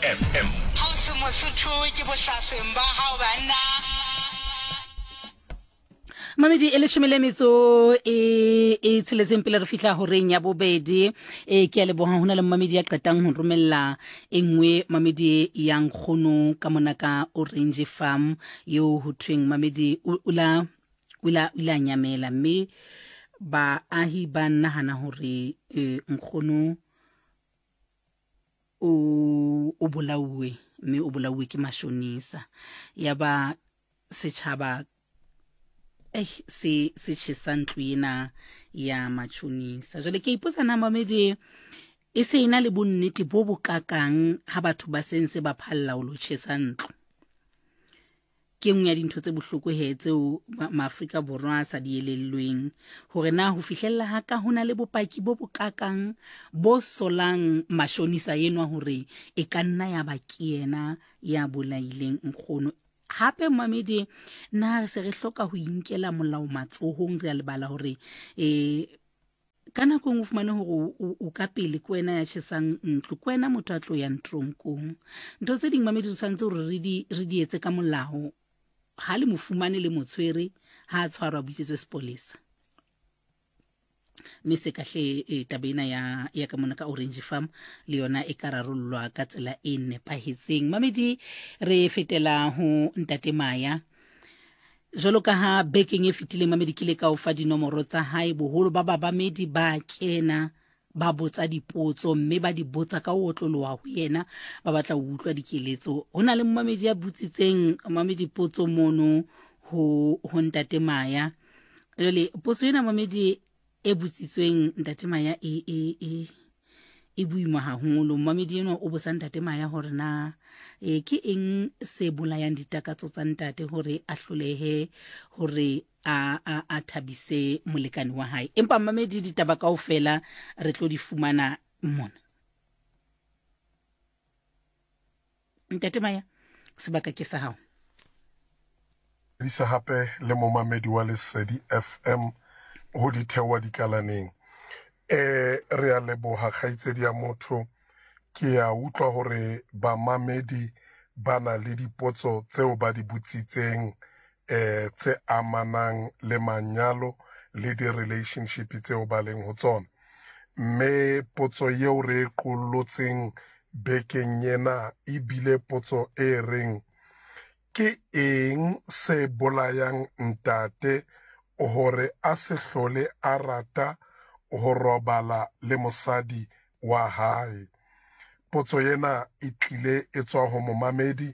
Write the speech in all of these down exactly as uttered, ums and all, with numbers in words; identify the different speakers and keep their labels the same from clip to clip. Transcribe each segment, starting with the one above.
Speaker 1: F M.
Speaker 2: Ha o se Mosotho ke bohlasweng ba hao banna.
Speaker 3: Mamedi, e leshome le metso e e tsheletseng pele re fihla horeng ya bobedi. E ke a leboha, ho na le mamedi ya qetang ho romella e nngwe, mamedi ya nkgono ka mona ka Orange Farm eo ho thweng mamedi o o la o la o ile a nyamela, mme baahi ba nahana hore eh, nkgono o o bolauwe, mme o bolauwe ke mashonisa. Ya ba setjhaba eh se se tjhesa ntlo ena ya matjhonisa. Jwale ke ipotsa na mamedi e se ena le bonnete bo bokakang ha batho ba sentse ba phalla ho lo tjhesa ntlo. Ke nngwe ya dintho tse bohloko he tseo Maafrika Borwa a sa di elellweng, hore na ho fihlella ha ka ho na le bopaki bo bokakang bo solang mashonisa enwa hore e ka nna ya ba ke yena ya bolaileng nkgono. Hape mamedi, na re se re hloka ho inkela molao matsohong? Re a lebala hore eh ka nako e nngwe o fumane hore o, o ka pele ke wena ya tjhesang ntlo, ke wena motho a tlo yang tronkong. Ntho tse ding, mamedi, re tshwanetse hore re di re di etse ka molao. Ha le mo fumane, le mo tshwere, ha a tshwarwa, buisetswe sepolesa. Mme se kahle e, taba ena ya ya ka mona ka Orange Farm le yona e ka rarollwa ka tsela e nepahetseng. Mamedi, re fetela ho ntate Maya. Jwalo ka ha bekeng e fetileng, mamedi, ke ile ka o fa dinomoro tsa hae, boholo ba babamedi ba kena ba botsa dipotso, mme ba di botsa ka ho otloloha ho yena, ba batla ho utlwa dikeletso. Ho na le momamedi ya botsitseng, mamedi, potso mono ho ho ntate Maya. Jwale potso ena, mamedi, e botsitsweng ntate Maya e e e e boima haholo. Momamedi enwa o botsa ntate Maya hore na e ke eng se bolayang ditakatso tsa ntate hore a hlolehe hore a a a thabise molekane wa hae. Empa mamedi, ditaba kaofela re tlo di fumana mona. Ntate Maya, sebaka ke sa hao.
Speaker 4: Disa hape le momamedi wa Lesedi F M ho ditheoha dikalaneng. Eh re a leboha, kgaitsedi ya motho. Ke a utlwa hore bamamedi ba na le dipotso tseo ba di botsitseng eh tse amanang le manyalo le di-relationship tseo ba leng ho tsona. Mme potso eo re e qollotseng bekeng ena ebile potso e reng, ke eng se bolayang ntate hore a se hlole a rata ho robala le mosadi wa hae? Potso ena e tlile e tswa ho momamedi,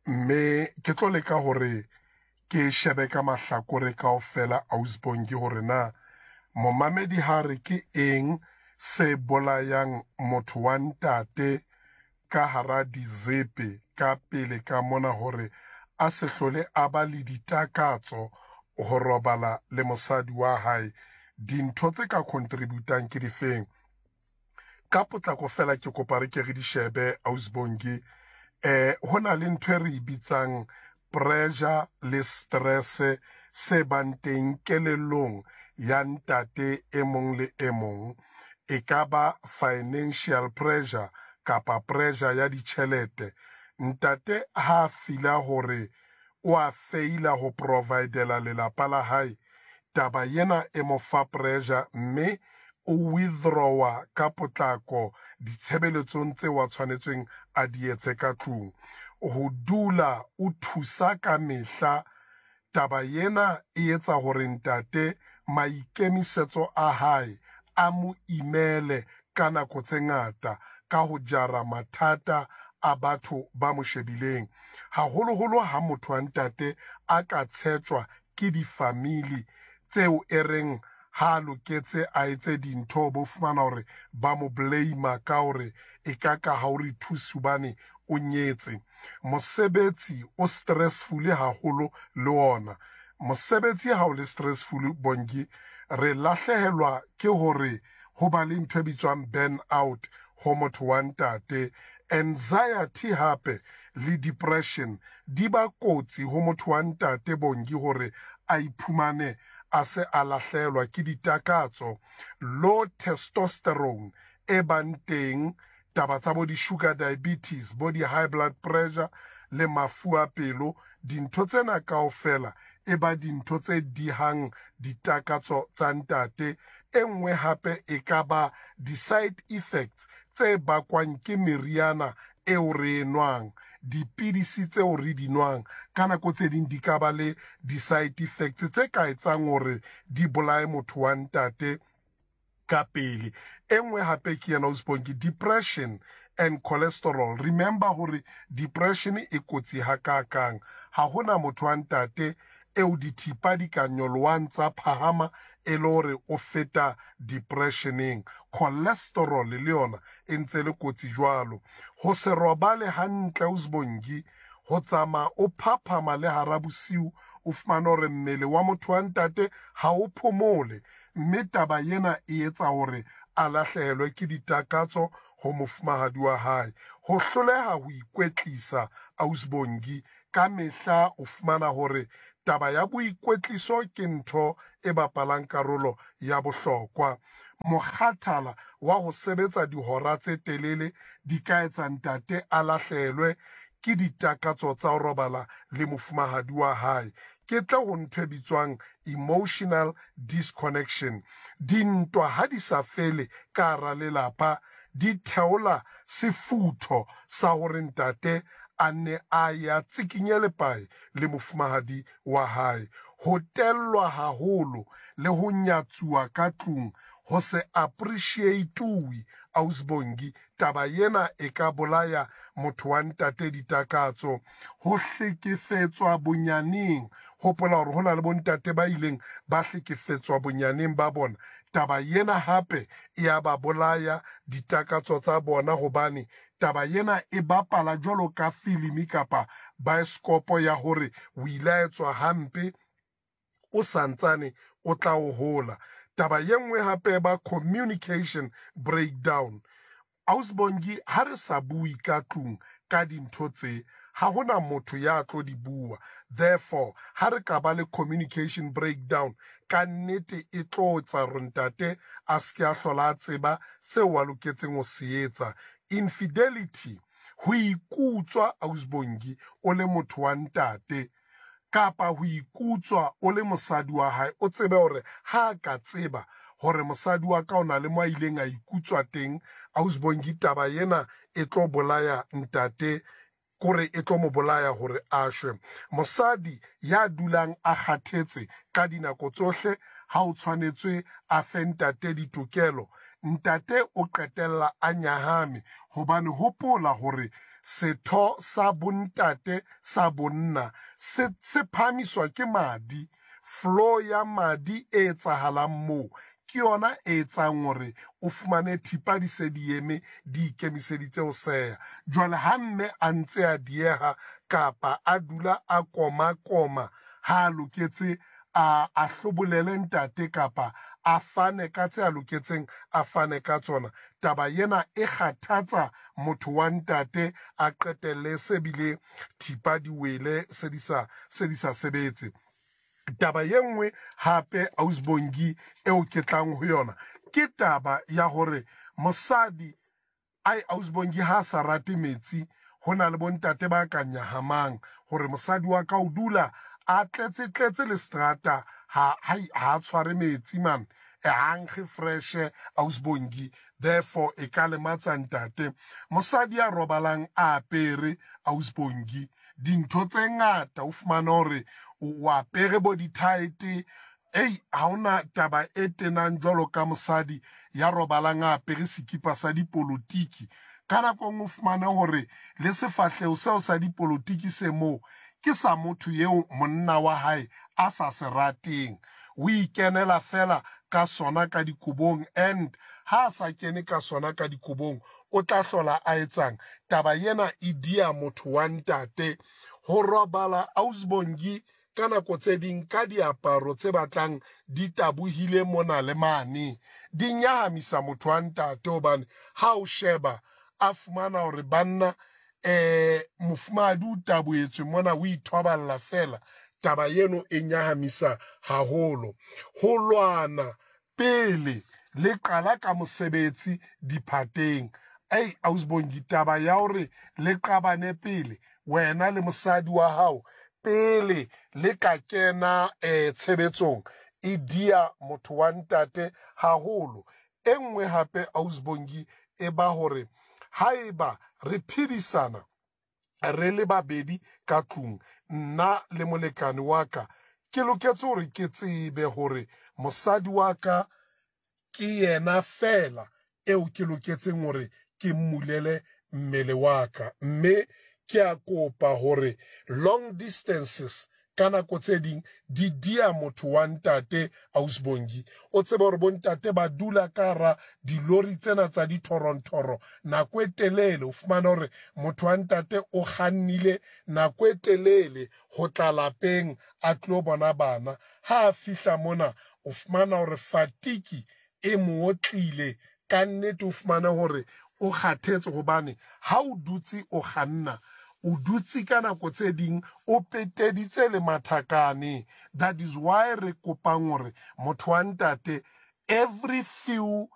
Speaker 4: mme ke tlo leka hore ke shebe ka mahlakore kaofela, ausbongi, hore na momamedi ha re ke eng se bolayang motho wa ntate ka hara dizepe ka pele ka mona hore a se hlole a ba le ditakatso ho robala le mosadi wa hae, dintho tse ka contributang ke difeng. Ka potlako fela ke kopa re ke re di shebe, ausbongi. eh ho na le ntho e re e bitsang pressure le stress se bang teng kelellong ya ntate e mong le e mong. E ka ba financial pressure kapa pressure ya ditjhelete. Ntate ha fila hore o a feila ho providela lelapa la hae, taba ena e mo fa pressure, mme o withdrawa ka potlako ditshebeletsong tseo a tshwanetsweng a di etse ka tlung. Ho dula o thusa ka mehla, taba ena e etsa hore ntate maikemisetso a hae a mo imele ka nako tse ngata ka ho jara mathata a batho ba mo shebileng, haholoholo ha motho wa ntate a ka tshetjwa ke di-family tseo e reng ha a loketse a etse dintho, bo fumana hore ba mo blame ka hore e ka ka ha o re thuse hobane o nyetse. Mosebetsi o stressful haholo le ona. Mosebetsi ha o le stressful, Bongi, re lahlehelwa ke hore ho ba le ntho e bitswang burn out ho motho wa ntate. Anxiety hape le depression di ba kotsi ho motho wa ntate, Bongi, hore a iphumane a se a lahlehelwa ke ditakatso. Low testosterone e bang teng Taba tsa bo di-sugar diabetes, bo di-high blood pressure le mafu a pelo, dintho tsena kaofela e ba dintho tse dihang ditakatso tsa ntate. E nngwe hape e ka ba di-side effects tse bakwang ke meriana eo re e nwang, dipidisi tseo re di nwang. Ka nako tse ding di ka ba le di-side effects tse ka etsang hore di bolaye motho wa ntate ka pele. E nngwe hape ke yena Ausbongi, depression and cholesterol. Remember hore depression e kotsi hakakang. Ha hona motho wa ntate eo dithipa di ka nyolohang tsa phahama e le hore o feta depressioneng. Cholesterol le yona e ntse le kotsi jwalo. Ho se robale hantle Ausbongi, ho tsamaya o phaphama le hara bosiu, o fumane hore mmele wa motho wa ntate ha o phomole, mme taba ena e etsa hore a lahlehelwe ke ditakatso ho mofumahadi wa hae. Ho hloleha ho ikwetlisa Ausbongi, ka mehla o fumana hore taba ya boikwetliso ke ntho e bapalang karolo ya bohlokwa. Mokgathala wa ho sebetsa dihora tse telele di ka etsa ntate a lahlehelwe ke ditakatso tsa ho robala le mofumahadi wa hae. Ke tle ho ntho e bitswang emotional disconnection. Dintwa ha di sa fele ka hara lelapa, di theola sefutho sa hore ntate a nne a ya tsikinye lepae le mofumahadi wa hae. Ho tellwa haholo le ho nyatsuwa ka tlung, ho se appreciate-uwe Ausbongi, taba ena e ka bolaya motho wa ntate ditakatso. Ho hlekefetswa bonyaneng, hopola hore ho na le bontate ba ileng ba hlekefetswa bonyaneng ba bona. Taba ena hape e ya ba bolaya ditakatso tsa bona, hobane taba ena e bapala jwalo ka filimi kapa baeskopo ya hore o ile a etswa hampe o santsane o tla o hola. Taba ye nngwe hape ba communication breakdown. Ausbongi, ha re sa bue ka tlung ka dintho tse, ha hona motho ya tlo di bua. Therefore, ha re ka ba le communication breakdown, ka nnete e tlo etsa hore ntate a se ke a hlola a tseba seo a loketseng ho se etsa. Infidelity, ho ikutswa Ausbongi o le motho wa ntate, kapa ho ikutswa o le mosadi wa hae, o tsebe hore ha ka tseba hore mosadi wa ka o na le mo a ileng a ikutswa teng, Ausbongi, taba ena e tlo bolaya ntate, kore e tlo mo bolaya hore a shwe. Mosadi ya dulang a kgathetse ka dinako tsohle, ha o tshwanetswe a fe ntate ditokelo, ntate o qetella a nyahame, hobane hopola hore setho sa bontate sa bonna se se phahamiswa ke madi. Flow ya madi e etsahalang moo ke yona e etsang hore o fumane thipa di se di eme, di ikemiseditse ho seha. Jwale ha mme a ntse a dieha kapa a dula a koma-koma, ha a loketse a a hlobolele ntate kapa a fane ka tse a loketseng a fane ka tsona, taba ena e kgathatsa motho wa ntate, a qetelle se bile thipa di wele, se di sa se di sa sebetse. Taba ye nngwe hape Ausbongi eo ke tlang ho yona ke taba ya hore mosadi ai Ausbongi ha sa rate metsi, ho na le bontate ba ka nyahamang hore mosadi wa ka o dula a tletse tletse le strata, ha ha ha tshware metsi man, e hankge fresh Ausbongi, therefore e ka lematsa ntate. Mosadi ya robalang a apere Ausbongi dintho tse ngata, o fumana hore o apere bo di-tight, ei ha hona taba e tenang jwalo ka mosadi ya robalang a apere sekipa sa dipolotiki. Ka nako e nngwe o fumane hore le sefahleho seo sa dipolotiki se moo ke sa motho eo monna wa hae a sa se rateng, o ikenela fela ka sona ka dikobong, and ha a sa kene ka sona ka dikobong o tla hlola a etsang. Taba ena e dia motho wa ntate. Ho robala Ausbongi ka nako tse ding ka diaparo tse batlang di tabohile mona le mane, di nyahamisa motho wa ntate, hobane ha o sheba a fumana hore banna eh mofumahadi o taboetswe mona, o ithoballa fela. Taba eno e nyahamisa haholo. Ho lwana pele le qala ka mosebetsi diphateng, Ei, ausbongi, taba ya hore le qabane pele wena le mosadi wa hao pele le ka kena um tshebetsong e dia motho wa ntate haholo. E nngwe hape, ausbongi, e ba hore haeba re phedisana re le babedi ka tlung, nna le molekane wa ka, ke loketse hore ke tsebe hore mosadi wa ka ke yena fela eo ke loketseng hore ke mmulele mmele wa ka. Mme ke a kopa hore long distances ka nako tse ding di dia motho wa ntate. Ausbongi, o tsebe hore bontate ba dula ka hara dilori tsena tsa dithorontoro nako e telele. O fumana hore motho wa ntate o kgannile nako e telele ho tla lapeng a tlo bona bana. Ha a fihla mona, o fumana hore fatigue e mo otlile ka nnete. O fumane hore o kgathetse hobane ha o dutse o kganna, o dutse ka nako tse ding o peteditse le mathakane. That is why re kopang hore motho wa ntate every few